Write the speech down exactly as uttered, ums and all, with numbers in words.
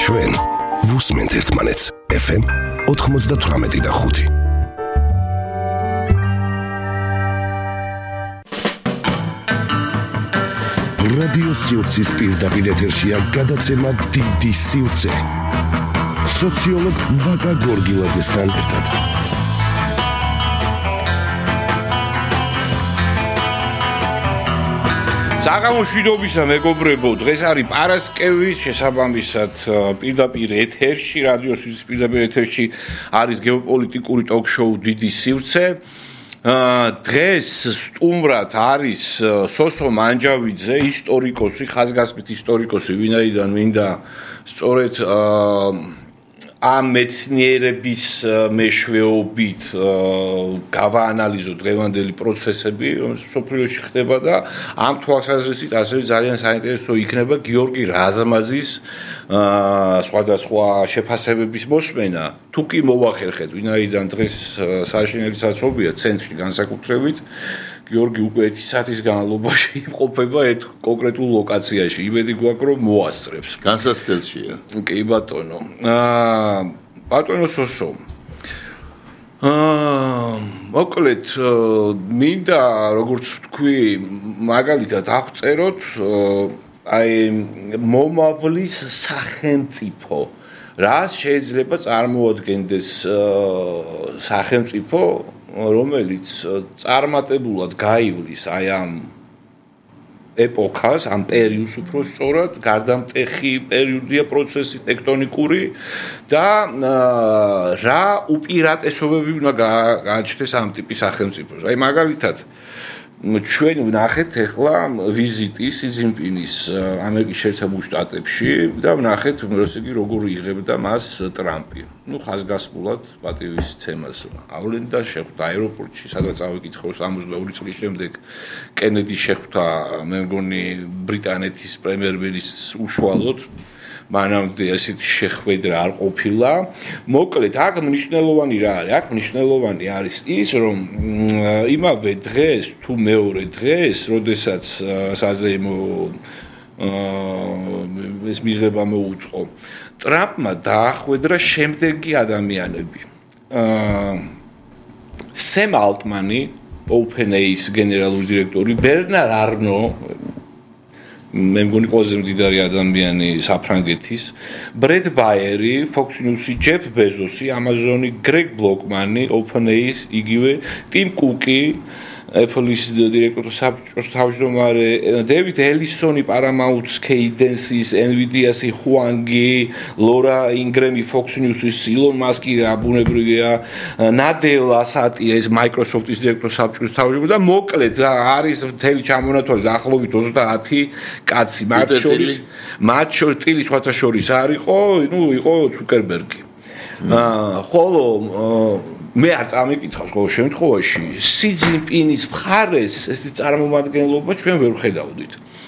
ჩვენ ვუსმენთ ერთმანეთს ეფ ემ ოთხმოცდათვრამეტი და ხუთი. რადიო სივრცის პირდაპირ ეთერშია გადაცემა დიდი სივრცე. სოციოლოგ ვაკა გორგილაძესთან ერთად. საღამოშვიდობისა მეგობრებო, დღეს არის პარასკევის შესაბამისად პირდაპირ ეთერში, რადიო სივრცის პირდაპირ ეთერში არის გეოპოლიტიკური ტოქ-შოუ დიდი სივრცე. დღეს სტუმრად არის სოსო მანჯავიძე, ისტორიკოსი, ხაზგასმით ისტორიკოსი, ვინაიდან მინდა სწორედ ამ მეცნიერების მეშვეობით გავაანალიზო დღევანდელი პროცესები, რომელიც სოფლიოში ხდება და ამ თვალსაზრისით ასევე ძალიან საინტერესო იქნება გიორგი რაზმაძის სხვადასხვა შეფასებების მოსმენა. თუ კი მოვახერხეთ, ვინაიდან დღეს საშინელი საცობია ცენტრში განსაკუთრებით, გიორგი უკვე ერთი საათის განმავლობაში იმყოფება ერთ კონკრეტულ ლოკაციაში. იმედი გვაქვს, რომ მოასწრებს. განსაცდელშია. კი ბატონო. აა ბატონო სოსო. აა მოკლედ მინდა როგორც ვთქვი, მაგალითად აღწეროთ აი მომავლის სახელმწიფო. რას შეიძლება წარმოადგენდეს სახელმწიფო, რომელიც წარმატებულად გაივლის აი ამ ეპოქას, ამ პერიოდს უფრო სწორად, გარდამტეხი პერიოდია პროცესი ტექტონიკური და რა უპირატესობები უნდა გააჩნდეს ამ ტიპის სახელმწიფოს. აი მაგალითად ჩვენ ვნახეთ ახლა ვიზიტი სი ძინპინის ამერიკის შეერთებულ შტატებში და ვნახეთ ესე იგი როგორ იღებდა მას ტრამპი. ნუ ხაზგასმულად პატივისცემას ავლენდა, შეხვდა აეროპორტში, სადაც ავიკითხო სამოცდაორი წლის შემდეგ კენედი შეხვდა, მე მგონი ბრიტანეთის პრემიერ-მინისტრს უშუალოდ. მანამდე ასეთი შეხვედრა არ ყოფილა. მოკლედ, აქ მნიშვნელოვანი რა არის? აქ მნიშვნელოვანი არის ის, რომ იმავე დღეს თუ მეორე დღეს, როდესაც საზეიმო ეს მიღება მოუწყო, ტრამპმა დაახვედრა შემდეგი ადამიანები. სემ ალტმანი, OpenAI-ის გენერალური დირექტორი, ბერნარ არნო, მე მგონი ყველაზე მდიდარი ადამიანი საფრანგეთის, ბრედ ბაიერი, Fox News-ი, ჯეფ ბეზოსი, Amazon-ი, გრეგ ბლოკმანი, OpenAI-ის, იგივე ტიმ კუკი, Apple-ის დირექტორის საბჭოს თავმჯდომარე, დევიდ ელისონი, Paramount-ის, Cadence-ის, Nvidia-ის, Huang-ი, ლორა ინგრემი, Fox News-ის, ილონ მასკი, ბუნებრივია, ნადელა სატია, ეს Microsoft-ის დირექტორის საბჭოს თავმჯდომარე და მოკლედ არის მთელი ჩამონათვალი დაახლოებით ოცდაათი კაცი, მათ შორის მათ შორის ტილი სხვათა შორის არ იყო, ნუ იყო ცუკერბერგი. აა ხოლო მე არ წამიკითხავს ყოველ შემთხვევაში სი ძინპინის მხარეს ესეთი წარმომადგენლობა ჩვენ ვერ ხედავდით.